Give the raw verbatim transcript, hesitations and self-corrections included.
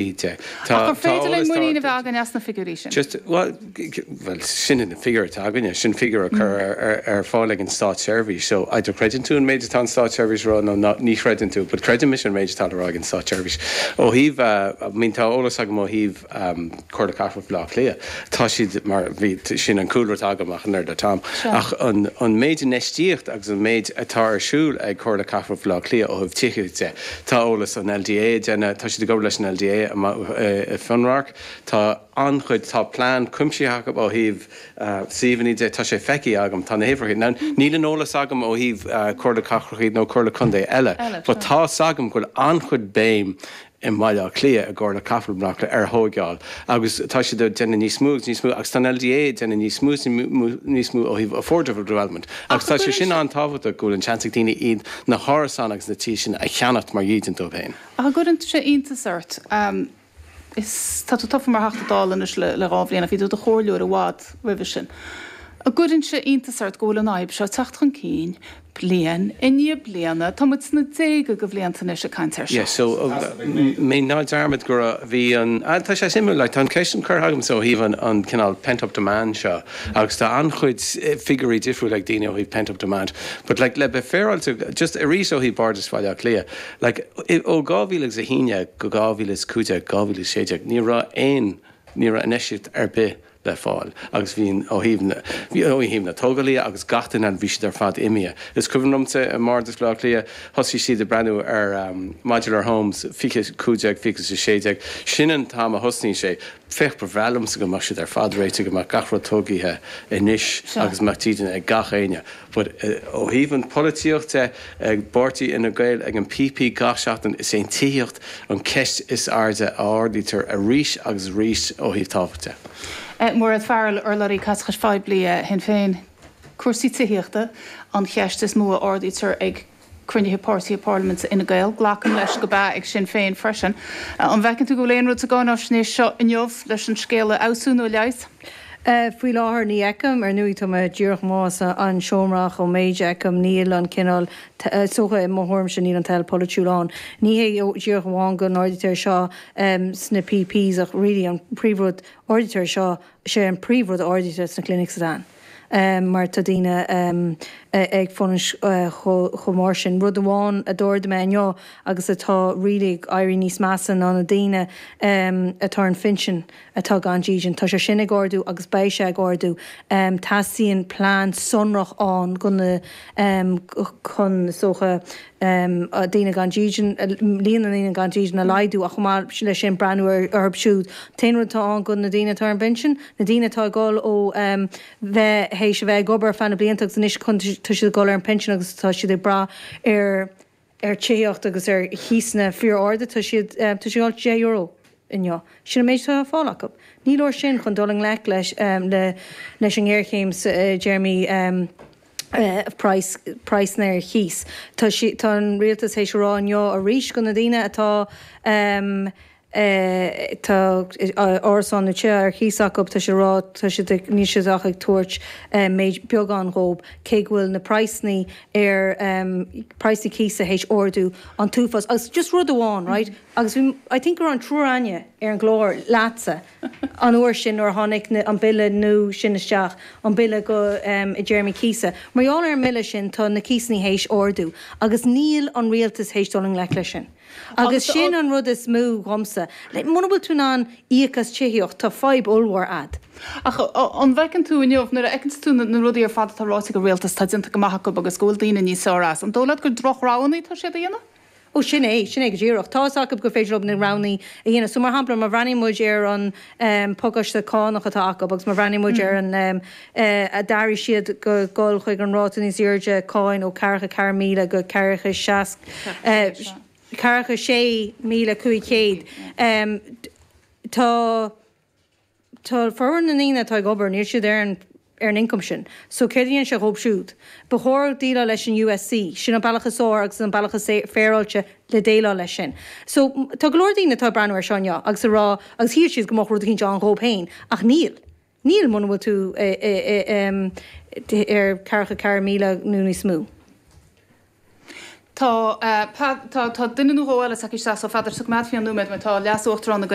De. Ach gur féidir linn muinín a bheith againn as na figiúirí sin? Just, well, well, sin an figiúr atá againne, sin figiúr a chur ar, ar, ar fáil ag an státseirbhís. So either creideann tú an méid atá an státseirbhís rá nó ná, ní chreideann tú, but creidim an méid atá le rá ag an státseirbhís. Ó thaobh uh, I mean, tá eolas agam ó thaobh um, Comhairle Cathrach Bhaile Átha Cliath. Tá siad mar bhí sin an cúlra atá agam ach an le Tom. Ach an, an méid infheistíocht agus an méid atá ar siúl ag Comhairle Cathrach Bhaile Átha Cliath ó thaobh tithíochta de. Tá eolas an L D A déanta, tá siad ag obair leis an L D A i Fionnradharc. Tá an-chuid, tá plean cuimsitheach ó thaobh uh, suíomhanna de, tá sé feicthe agam, tá na huimhreacha. Now, níl an eolas agam ó thaobh uh, Comhairle Cathrach nó Comhairle Contae eile, Eile, but tá agam go bhfuil an-chuid béim i mBaile Átha Cliath i gComhairle Cathrach Bhaile Átha Cliath ar thógáil. Agus tá siad déanamh níos mó agus níos mó agus tá an L D A déanamh níos mó níos mó ó thaobh affordable development. Agus tá sé sin an-tábhachtach go bhfuil an seans ag daoine iad na hárasáin agus na tithe sin a cheannacht mar dhídean dóibh féin. Ach gcuireann sé iontas ort um, is tá tú tofa mar Theachta Dála anois le le dhá bhliain, bhí tú i do chomhairleoir i bhfad roimhe sin. An gcuireann sé iontas ort go bhfuil an fhadhb seo teacht chun cinn bliain i ndiaidh bliana, tá muid sna déaga de bhlianta anois ag caint air seo. Yeah, so uh, mé ná dearmad go bhí an ah, tá sé suimiúil, like, tá an ceist an curtha agam so thaobh an, an cineál pent-up demand seo agus tá an-chuid eh, figiúirí difriúil ag daoine ó thaobh pent-up demand. But like, le bheith féaráilte just arís ó thaobh Bhardas Bhaile Átha Cliath, like, i- ó dhá mhíle agus a haon go dhá mhíle is cúig déag, dhá mhíle is sé déag, ní raibh aon ní raibh infheistíocht ar bith le fáil agus bhíon ó thaobh na bhí ó thaobh na tógálaí agus gach duine bhí siad ar fad imithe. Is cuimhin liomsa i mBardas Bhaile Átha Cliath thosaigh siad ag breathnú ar um, modular homes fiche cúig déag, fiche sé déag, sin an t-am a thosnaigh sé. Féach, ba bhreá liomsa go mbeadh siad ar fad réitithe, go mbeadh gach rud tógtha anois Seo. agus mbeadh dídean ag gach éinne. But uh, ó thaobh an polaitíochta ag páirtí Fhine Gael, ag an P P, gach seachtain is é an tithíocht an ceist is airde a ardaítear arís agus arís ó thaobh tábhachta. Eh, Mairéad Farrell, urlabhraí caiteachais phoiblí eh, Shinn Féin, cúrsaí tithíochta an cheist is mó a ardaítear ag cruinnithe páirtí parlaiminte Fhine Gael, glacaim leis gurb ea ag Sinn Féin freisin. Eh, An bhfeiceann tú go bhfuil aon rud sa gcáinaisnéis seo inniu leis an scéal a fheabhsú nó a leigheas? Uh, faoi láthair ní fheicim. Ar ndóigh tá mé díreach más an seomra ó méid fheicim níl an cineál socha i mo thuairim sin níl an toil polaitiúil ann. Ní hé díreach amháin go n-ardaítear seo um, sna P Ps ach really an príomhrud ardaítear seo sé an príomhrud ardaítear sna clinics dan. Um, mar tá daoine um, ag fanacht uh, chomh mór sin. Rud amháin a dúirt mé inniu agus atá really ag éirí níos measa ná na daoine um, atá an phinsean atá gan dídean. Tá sé sin ag ardú agus beidh sé ag ardú. Um, Teastaíonn plean sonrach ann go na um, chun socha um, daoine gan dídean, líon na ndaoine gan dídean a laghdú ach chomh maith leis sin breathnú orthu siúd. Aon rud atá ann go na daoine atá an phinsean, na daoine atá ag dul ó um, bheith théis a bheith ag obair feadh na blianta agus anois chun tá siad dul ar an pension agus tá siad ag brath ar ar tithíocht agus ar chíosanna fíor-arda, tá siad tá siad deich euro inniu. Sin an méid atá fáil acu. Ní leor sin chun dul i ngleic leis um, le, leis an ngéarchéim uh, Jeremy um, Uh, price price ar chíos. Tá si, tá an rialtas théis rá inniu arís go na daoine atá um, Uh, tá árasán nó teach ar chíos acu, tá sé rá tá siad ní siad ach ag tabhairt uh, méid beagán dhóibh cé go bhfuil na praghsanna ar um, praghsanna cíosa théis ardú an t-uafás agus just rud amháin, right? Agus bhí I think gur an triúr againne ar an gclár leatsa an uair sin nuair tháinig an bille nua sin isteach, an bille go um, i dtéarmaí cíosa. Mar gheall ar an mbille sin tá na cíosanna théis ardú agus níl an rialtas théis dul i ngleic leis sin. Agus sin an rud is mó dhomsa. Le muna bhfuil tú in ann íoc as tithíocht, tá fadhb ollmhór agat. Ach an bhfeiceann tú inniu nuair a fheiceann tú na rudaí ar fad atá ráite ag an rialtas tá déanta go maith acu agus go bhfuil daoine níos fearr as. An dóigh leat gur drochroghanna tá siad a dhéanamh? Ó, sin é, sin é go díreach. Tá acu go féidir na roghanna a dhéanamh. So mar shampla, má bhreathnaíonn muid ar an um, pacáiste cánach atá acu agus má bhreathnaíonn muid ar an um, uh, a d'athraigh siad go dul chuig an ráta níos airde cáin ó ceathracha ceathair míle go ceathracha seas uh, ceathracha sé míle cúig chéad. Um, tá Tá formhór na ndaoine atá ag obair, níl siad ar an ar an income sin. So céard a dhéanann sé dhóibh siúd. Ba chóir déileáil leis an U S C, sin an bealach is fearr agus an bealach is féaráilte le déileáil leis sin. So tá go leor daoine atá breathnú ar seo agus a rá agus shíl siad go mbeadh rud éicint ann dhóibh féin, ach níl. Níl muna bhfuil tú ar ceathracha ceathair míle nó níos mó. Tá tá tá duine nó dhó eile tagtha isteach so Pheadar so coimeádfaidh an nóiméad mar tá leas-uachtarán na